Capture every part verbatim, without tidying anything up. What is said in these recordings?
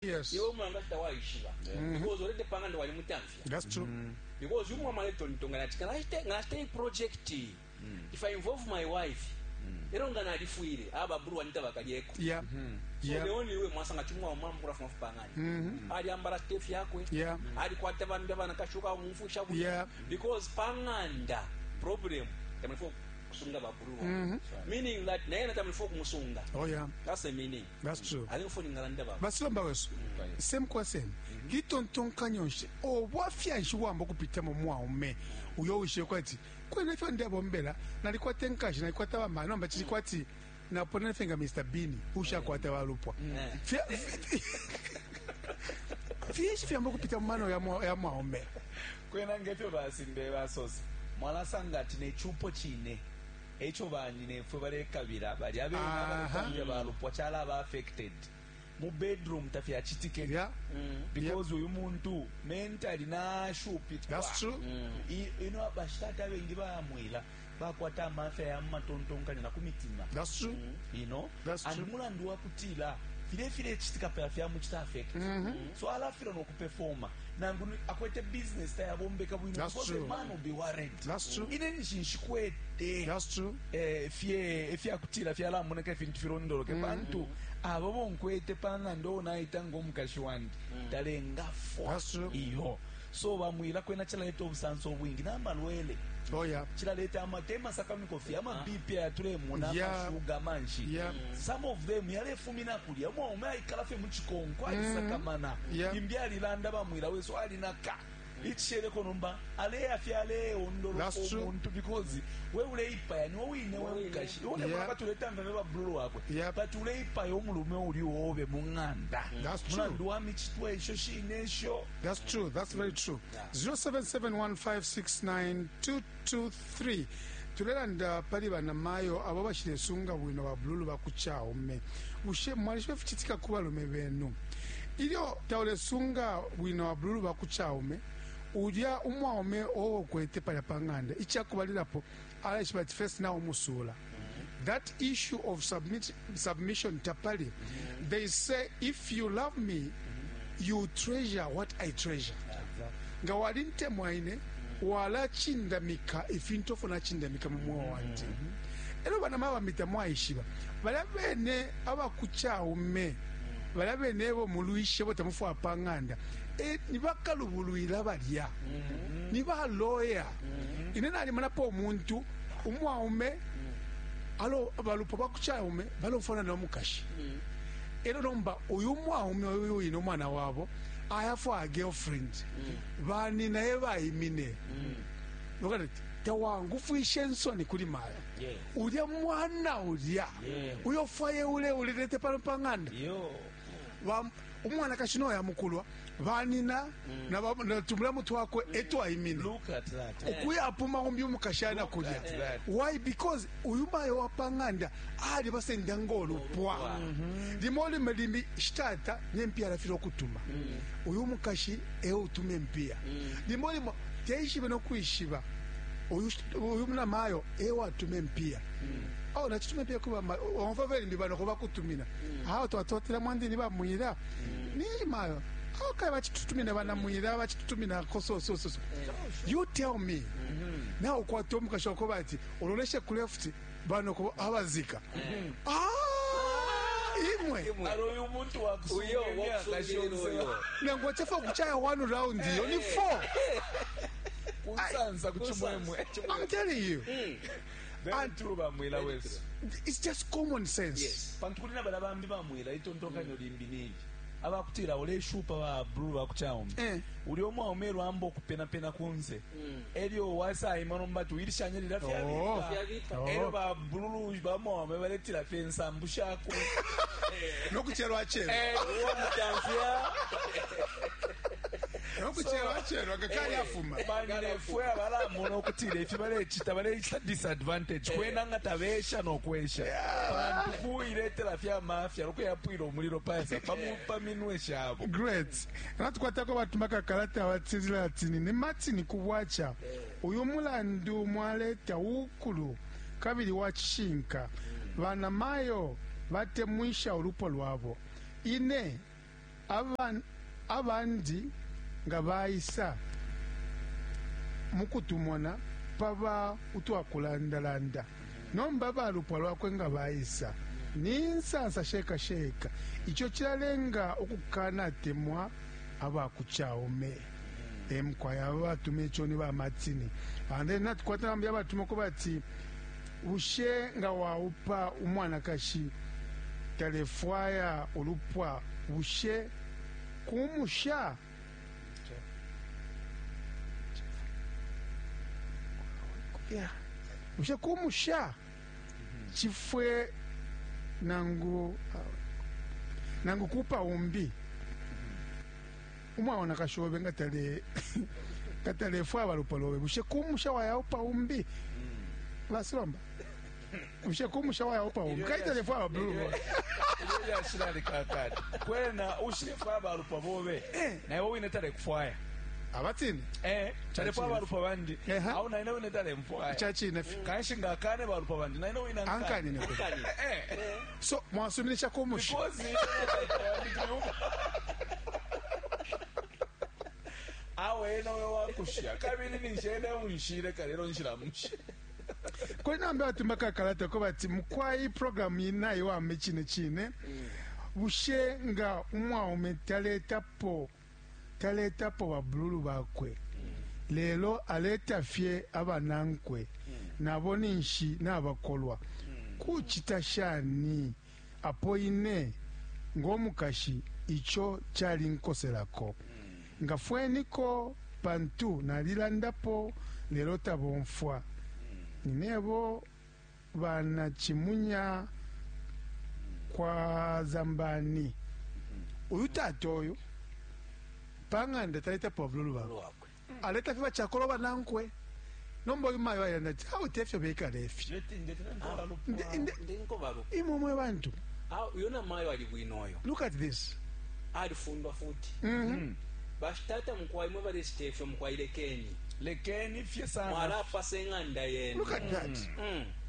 Yes. Iwe umwanga tawaishiba because already pang'anda walimutamfya. That's true. Because umwama aletontonkanya ati kana nachita nachita iyi project, if I involve my wife, ero nga nalifwile aba bulu wanita bakalyeko. Yeah. So Yeah. the only way mwasanga chimwa umama kurafuma pang'anda aliambala stef yakwe, Yeah. alikwata vandu vanakashuka mumfusha bwino. Yeah. Because pang'anda problem tamulifo kusunga babulu, meaning that naye natamulifo kumusunga. Oh yeah. That's the meaning. That's true. Alinkufoninga ndaba. Basilomba wesu, same question. Litontonkanyo nshi obwafya nshi bwamba okupitamo mwaume uyo wishibe kwati kwena ifyo ndebombela nalikwata enkashi, nalikwata bamana, nomba kili kwati napona fye nga Mister Bean ushakwata balupwa. Fya- finshi fyamba okupita mu mano ya mwa- ya mwaume? Kwena ngefyo basimbe basosa, mwalasanga ati nechupo chine echo banyinefwe balekabila bali abene Aha. abalekabila balupwa chalaba affected mu bedroom tafyachitike Yeah. because uyu muntu mentally nashupikwa. That's true. I- ino bashitata abengi bamwila bakwata amafya ya mumatontonkanyo na ku mitima. That's true. you know That's And true. mulandu wakutila file file chitika pela fyamuchita affect, so alafila nokupefoma nangu ni- akwete business tayabombeka bwino That's because true. the man will be worried. That's true. Ine nishinshikwete That's true. eh, fye ifyakutila fyalamoneka ifintu filondoloke pantu abo bonkwete pang'anda onaita ng'omukashi wandi talengafwa. That's true. Iyo so bamwila kwena chilaleta obusanso obwingi n'amalwele. Oh yeah. Chilaleta ama te masakamikofi ama B P ayatulemona, Yeah. amashuga manshi. Yeah. Some of them yalefumina kulya umwaume aikala fye muchikonko alisakamana. Yeah. Imbi alilanda bamwila weso alinaka ichisheleko nomba aleya fye aleondoloka That's true. omuntu because we uleipaya niwe wine we mukashi Yeah. ulebatuleta mve babululu wakwe, Yeah. but uleipaya omulume uli wobe mung'anda That's true. mulandu wa michitwa esho shine esho. That's true. That's very true. zero seven seven one five six nine two two three. Tulelanda pali banamayo abo bashilesunga bwino babululu bakuchaume. Bushe mwalishiba fichitika ku balume benu ilyo taulesunga bwino babululu bakuchaume? Ulya umwaume owokwete palya pa ng'anda ichakubalilapo alaishiba ati first nawe umusula. That issue of submit, submission tapali. They say, "If you love me, you treasure what I treasure." Nga walintemwa ine, walachindamika ifintu ofo nachindamika mu mwoyo wandi. Elo bana mabamita mwaishiba balya bene abakuchaume, balya bene ebo mulwishe bo tamufwa pa ng'anda, e, nibakalubulwila balya ni baloya. Ine nalimanapo omuntu umwaume alo balupwa bakuchaume balofana nomukashi. Elo nomba uyu mwaume uyu wine omwana wabo ayafwa a girlfriend, banina ye bayimine lokati tawangufwishe ensoni kuli maya. Yeah. Ulya mwana ulya Yeah. uyofwaye ule ulilete pano pa ng'anda. Iyo. Ba- umwana kashino yamukulwa banina na ba- na tumulamu twakwe etwayimine. Look at that. Okuyapuma umbi umukashana kulya. At that. Why? Because uyu mayo wapang'anda ali basenda ng'olupwa limo lime limbi shitata nempiya alafile okutuma uyu mukashi eutuma empiya limo limo teishibe nokwishiba uyu uyu munamayo ewatuma empiya awo nachituma empiya kuba omva velimbi bano kubakutumina awo twatotela mwandini bamwira ni mayo awo kale bachitutumina banamwira bachitutuminako so so so so you tell me nawe ukwata omukashi wakoba ati ololeshe ku left bano ko abazika. Ah, imwe. Alo uyu muntu wakusunga Uyo, emyaka wakusungira shonse. uyo. Nangwa chafa kuchaya one round iyo ni four. Kunsansa kuchimwemwe. I'm telling you. Very true bamwila wesu. It's just common sense. Yes. Pantu kuli nabala bambi bamwila itontonkanyo limbi nili abakutila oleshupa ba blue bakuchaume Eh. uli omwaume lwamba okupenapena kunze elyo wasayima nomba tuwilishanye lila Oh. fyabipa. Fyabipa. Oh. Elyo ba blue bamwaume baletila fye ensambu shakwe. Nokucherwa cherwa. Uwamutamfya. Nokucherwa cherwa ngakali afuma. Banyinefwe abalamona okutila ifi balecita balecita disadvantage kwena nga tabesha nokwesha pantu kuiletela fyamafya lokuyapwila omulilo pasa pamu- paminwe shabo. Great. Natukwatako batumaka kalata batizila ati ni Martin kubwacha uyu mulandu mwaleta ukulu kabili wa chishinka. Banamayo batemwisha ulupwa lwabo. Ine Aban- abandi nga baisa mukutumona paba utwakulandalanda nomba balupwa lwakwe nga baisa ni nsansa sheka sheka ico cilalenga ukukanatemwa abakucaume emukwaya aba batuma ico ni bamatini and then natukwata bambi abatumako bati bushe nga waupa umwanakashi talefwaya ulupwa bushe kumusha Yeah. Bushe kumusha chifwe nangu nangu kupa umbi umwana kashobe nga tale katalefwa balupwa lobe bushe kumusha wayaupa umbi basilomba bushe kumusha wayaupa umbi kaitalefwa babulu Ilyo lyashilalikakati kwena ushilefwaya balupwa bobe naiwe wine talekufwaya abatini Eh, talefwaya balupwa bandi Eha. au naine wine talemfwaya chachine fi kanshi ngakane balupwa bandi naine wine ankanine kwe Ankani. so mwasuminisha kumusha because awe nawe wakusha kabili ninshene unshile kalelo nshilamusha kwena batumba kakalata ko bati mukwai programu inayi wame chine chine bushe nga umwaume taletapo taletapo babululu bakwe lelo aleta fye abanankwe nabo ninshi nabakolwa kuchita shani apo ine ng'omukashi icho chalinkoselako ngafweniko pantu nalilandapo lelo tabomfwa ninebo banachimunya kwa zambani uyu tata oyu pang'anda taletapo bavululu bakwe Lwakwe. aleta fye bachakolo banankwe nomba uyu mayo ayilanda ati awu tefyo bekala efyo Nde- nde- Ndinko balupwa. imwe mwe bantu Ah, uyo namayo ali bwino oyo look at this alifundwa futi Mhm. bashitata mukwai mwe balesita efyo mukwai lekeni fye sana mwalapasa eng'anda yenu look at that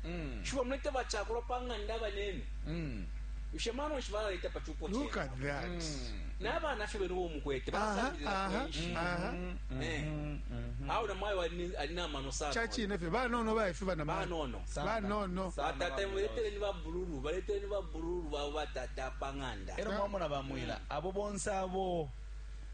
Mm. shuwa mulete bachakulwa pa ng'anda banene Mm. ushe mano nshi balaleta pa chupo look chenu at that n'abaana ffe bene bomukwete aha balasambilira aha kwenshi aha Eh. awo namayo alina- alina amano sana chachine fye banono baefe banamayo banono banono batata muletere ni babululu baletere ni babululu babo batata pa ng'anda ero mwamona bamwila abo bonse abo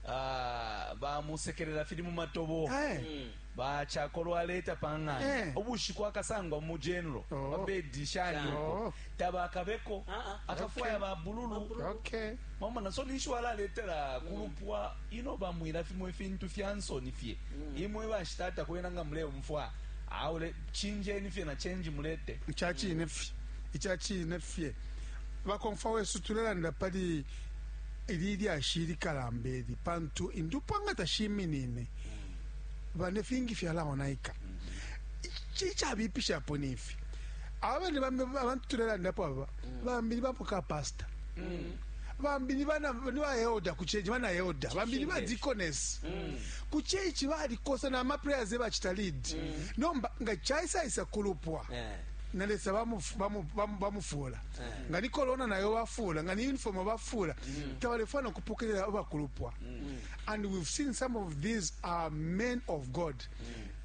ah, bamusekerera fili mu matobo Eh. Mm. bachakolwa aleta Eh. pang'anda ubushiku akasangwa mu general Oh. babedi shani Oh. uko tabakabeko Ah, ah. akafwaya babululu okay mwamona so ninshi walaletera kulupwa ino bamwila fimwe fintu fya nsoni fye imwe bashitata kwena nga muleumfwa aule chinjeni fye na chenji mulete ichachine fye ichachine fye bakomfa wesu tulelanda pali ili lyashi likalamba eli pantu indupwa nga tashiminine bane fingi fyalaonaika Ichi ichabipishapo nifi abandi bambi abantu tulelandapo aba bambi ni bapoka pasta bambi ni bana ni ba elder ku church bana elder bambi ni ba deaconess ku church balikosa na ma prayers bachita lead nomba nga chaisaisa kulupwa Eh. nalesa bamufuula bamu, bamu, bamufuula. Eh. Nga ni corona nayo bafuula nga ni uniform bafuula tabalefana kupokelela abakulupwa and we've seen some of these are men of god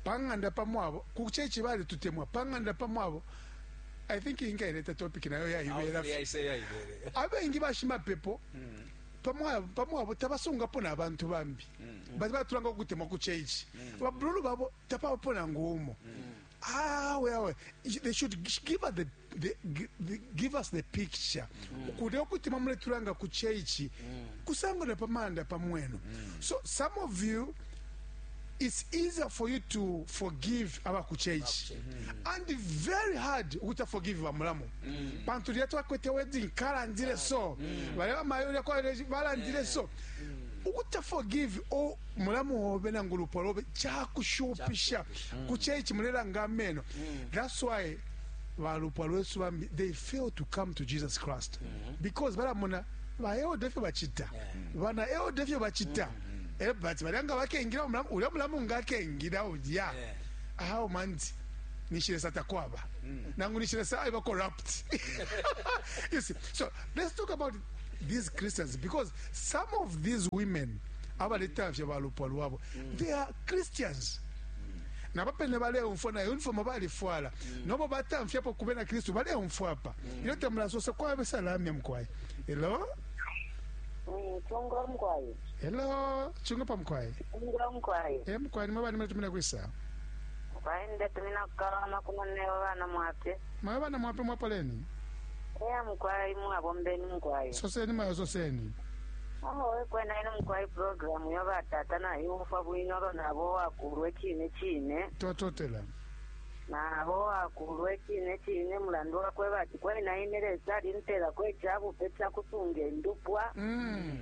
pang'anda pamwabo ku chechi bali tutemwa pang'anda pamwabo i think ingaileta topic nayo yaibera Awo yaise yaibere. abengi bashimapepo pamwabo pamwabo tabasungapo n'abantu bambi bati batulanga okutemwa ku chechi babululu babo tapabapo nangu umo awe awe they should give us the, the, the, give us the picture kule okutemwa muletulanga ku chechi kusangwa na pamanda pamweno so some of you it's easier for you to forgive abakuchechi and very hard ukuti forgive bamulamu pantu lya twakwete wedding kalandile so bale bamayo lya kwa balandile so ukuti forgive o mulamu wobe nangu lupwa lobe chakushupisha kuchechi mulelanga ameno that's why balupwa lwesu bambi they fail to come to jesus christ because balamona baelda fye bachita bana elda fye bachita Eh, but balyanga bakengira omulamu ulya mulamu nga akengira ulya Yeah. awo manzi nishilesa takwaba nangu nishilesa aiba corrupt you see so let's talk about these Christians, because some of these women abaletamfya balupwa lwabo, they are Christians. Nabapene baleumfwa na uniform balifwala, nobo batamfyapo kubena Kristu baleumfwa apa. Ilyo tamulasosa kwabe salamya mkwai. Hello? Chungura mkwai. Hello, chunga pa mkwai. Chungura mkwai. Eh, mkwai ni mabani mletumina kwisa. Kwai ndetumina kukalama kuno newe bana mwape. Mwe bana mwape mwapoleni. Eya mkwai mwabombeni mkwai. Soseni mayo soseni. Aho kwena ino mkwai program yo batata na yumfa bwino nabo wakulwe chine chine. Twatotela. Nabo wakulwe chine chine mulandu wakwe bati kwena ine lesa lintela kwechabu pecha kusunga endupwa. Mm.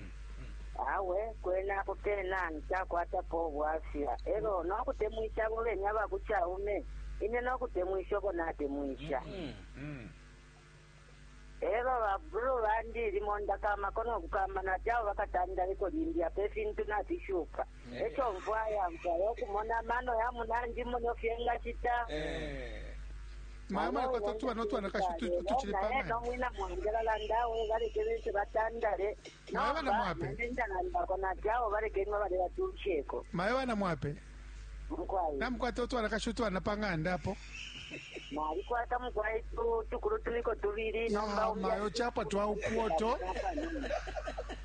Awe kwena apo pena nchakwatapo bwafya. Ero nokutemwisha bobenya bakuchaume. Ine nokutemwisha ko natemwisha. Mm. Ero babulu bandi limonda kama kono kukama na chao bakatanda liko limbya pe fintu na tishuka. Echo mvwa ya mvwa yokumona mano ya munanji muno fyenga chita. Eh. Mama kwa tuwa no tuwa nakashu tuchile pa. Pa. Mwina mwangela landawe baleke batandale. Mawe bana mwape. Ndalanda kona chao baleke nwa bale batucheko. Mawe bana mwape. Mkwai. Na mkwata tuwa nakashu tuwa napanganda hapo. Nalikwata mkwai tu tukuru tuliko tubiri nomba mayo chapa twa ukuoto.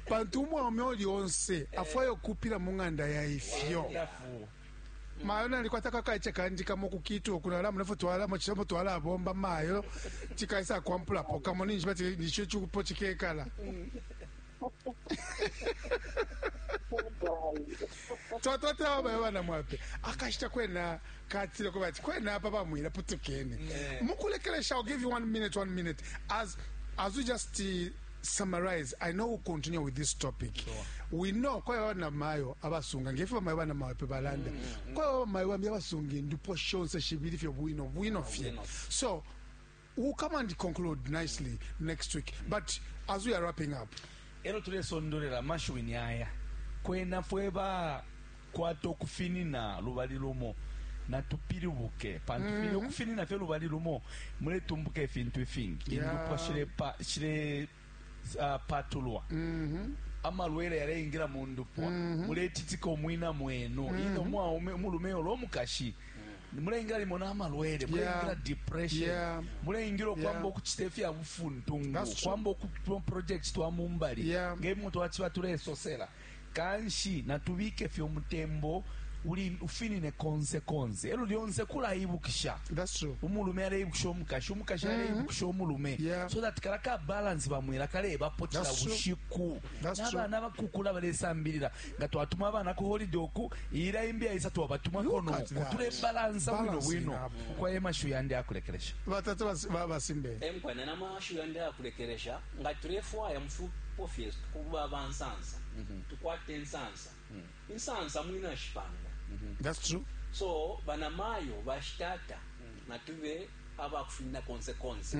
Pantu umwaume oli onse afwayo kupira mung'anda ya ifyo. Mayo nalikwata kakaiche kandika mu kukitu okunala munefu twala mu chisomo twala bomba mayo chikaisa kwampula poka moninji bati nicho chukupo chikekala. Twatotela bayo bana mwape akashita kwena katile ko bati kwena apa bamwira putukene. Mukulekelesha, I'll give you one minute, one minute as as we just uh, summarize. I know we'll continue with this topic. Sure. We know kwa bana mayo abasunga ngefe mayo bana mayo pe balanda. Kwa mayo bambi abasunga ndupo shonse shibili fyo bwino bwino fye. So we'll come and conclude nicely next week. But as we are wrapping up, ero tulesondolera mashuwini aya kwena fweba kwato kufinina lubali lumo na tupiribuke pantu mm -hmm. kufinina fye lubali lumo muletumbuka efintu efingi Yeah. indupwa shile pa shile uh, patulwa mm -hmm. amalwele yaleingira mu ndupwa mm -hmm. muletitika omwina mwenu mm -hmm. ino mwaume mulume olwomukashi mm. muleingira limo n'amalwele muleingira Yeah. depression Yeah. muleingira okwamba Yeah. okuchita efya bufuntungu That's true. kwamba oku project twa mumbali Yeah. ng'emuntu wachiba tulesosela kanshi natubike fye omutembo uli ufinine konse konse elo lyonse kulaibukisha That's true. umulume aleibukisha omukashi omukashi aleibukisha omulume Yeah. so that kala ka balance bamwira kalebapotela That's true. bushiku That's true. n'abaana bakukula balesambirira nga twatuma abaana ku holiday oku ira imbi aisa twabatumako Look at noko that. tulebalansa bwino Balancing bwino up. kwaye mashu yandi akulekelesha Batatu bas- ba- basimbe. Emkwana namashu yandi akulekelesha nga tulefwaya mufupo fyesu kuba bansansa tukwate ensansa insansa mwina shipanga. That's true. So banamayo bashitata natube abakufinina konse konse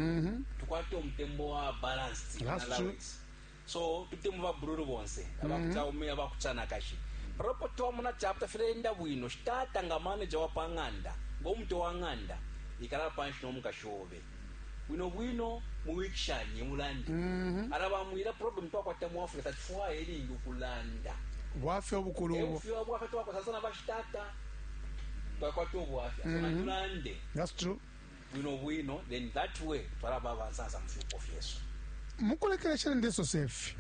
tukwate omutembo wa balanced That's true. allowance. So tutemu babululu bonse abakuchaume abakuchanakashi propo twamuna chapter filenda bwino shitata nga manager wa panganda ng'omuto wa ng'anda ikala panshi n'omukashobe bwino bwino muwikishanye mulande arabamwira problem twakwata mu Africa tufwaye eringi okulanda Bwaffe obukulu obwo. ebufiwa bwaffe twakwata sana bashitata twakwata obwaffe asona tulande That's true. bwino bwino then that way twaraba abansansa mufiuko fyesu Mukulekelesha ndeso sefi.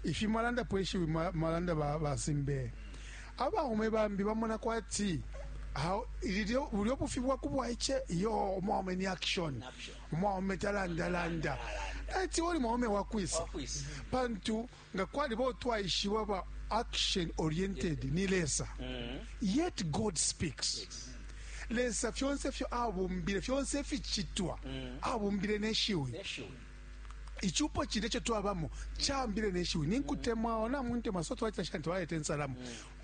Ifi mwalanda pweshi mwalanda ba basimbe. Abaume bambi bamona kwati how ilio uliobufi bwa kubwaiche yo omwaume ni action. Action. Omwaume talanda landa. Ati oli mwaume wakwisa. Wakwisa. Pantu nga kwali bo twaishiwa ba action oriented ni lesa. Yet God speaks. Lesa fyonse fyo abumbile fyonse fichitwa abumbile neshiwi neshiwe ichupo chile cho twabamo chambile neshiwi ninkutemwa ona muntemwa so twaita shanti waete nsalamu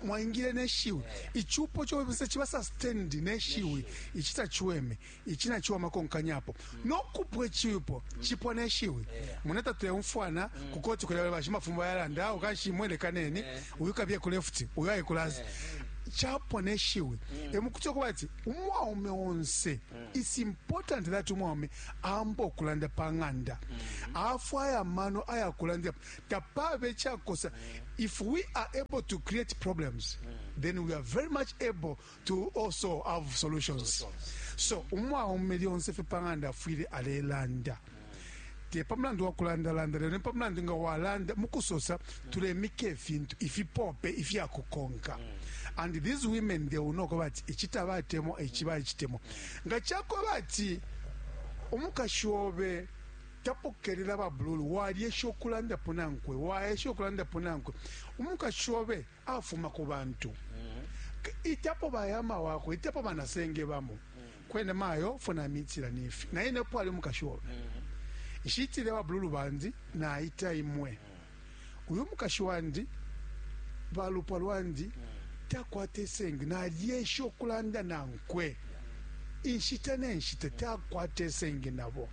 mwaingile neshiwi ichupo cho bise chiba sustained neshiwi ichita chiweme ichina chiwa makonkanyapo nokupwe chipo chipo neshiwi muneta tuyamfwana kukoti kulala bashimafumba yalanda ukashimwele kaneni uyu kabye ku left uyu ayi kulazi Chapwa neshiwi emukuti okuba ati umwaume onse, it's important that umwaume amba okulanda pa ng'anda, afwaya amano ayakulandira tapabe chakosa. If we are able to create problems, then we are very much able to also have solutions. So umwaume lyonse fye pa ng'anda afwile alelanda, te pamulandu wa kulandalanda, lelo ni pamulandu nga walanda mukusosa tulemika ifintu ifipope ifyakukonka. And these women, they will know ko bati ichi tabatemwa, ichi bachitemwa. Nga chakoba ati umukashi obe tapokelela babululu, walyesha okulandapo nankwe, waesha okulandapo nankwe, umukashi obe afuma ku bantu, itapo bayama wakwe, itapo banasenge bamo kwene mayo funa mitira nifi naye nepo ali umukashi obe nshitile babululu bandi naita imwe uyu mukashi wandi balupwa lwandi takwata esenge, nalyesha okulanda nankwe inshita nenshita, takwata esenge nabo.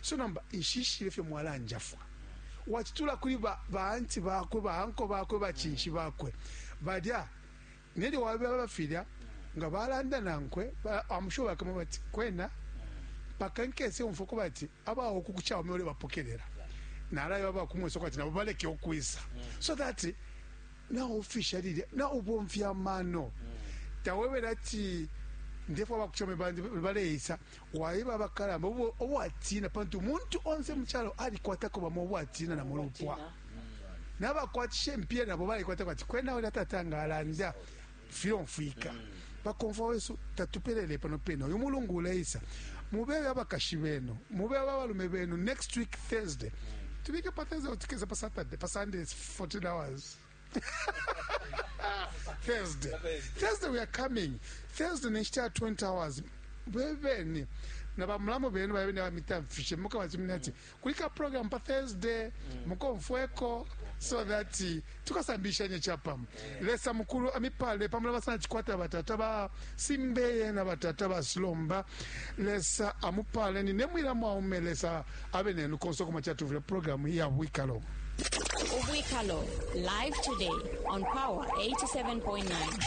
So namba nshishile fye mwalanjafwa wachitula kuli ba baanti bakwe, baanko bakwe, bachinshi bakwe balya nelyo wabe bafilya nga balanda nankwe, amusho bakamo bati kwena paka nkese umfuko bati abawo kukuchawo mwe bapokelela nalayo abakumwesa kwati nabo baleke okwisa, so that na officially na ubomfya amano tawebera ati ndefo abakuchome bandi baleisa waiba abakalamba obwatina, pantu umuntu onse muchalo alikwatako bamo obwatina na mulupwa nabakwatishe mpia nabo balikwata kwati kwena uli atatanga alanda filomfwika bakomfa wesu tatupelele pano peno uyu mulungu uleisa mubebe abakashi benu, mubebe abalume benu. Next week Thursday tubike pa Thursday, utikeze pa Saturday, pa Sunday it's fourteen hours. Thursday. Thursday we are coming. Thursday next year twenty hours. Bebeni na bamulamu benu babe na mitamfishe mukabatumina ati kulika program pa Thursday mukomfweko, so that tukasambishanye chapam. Lesa mukulu amipale pamula basana chikwata batata ba simbeye na batata ba slomba. Lesa amupale ni nemwira mwaume lesa abe nenu konso kuma chatuvira program ya Wikalo. Ubwikalo live today on Power eighty-seven point nine.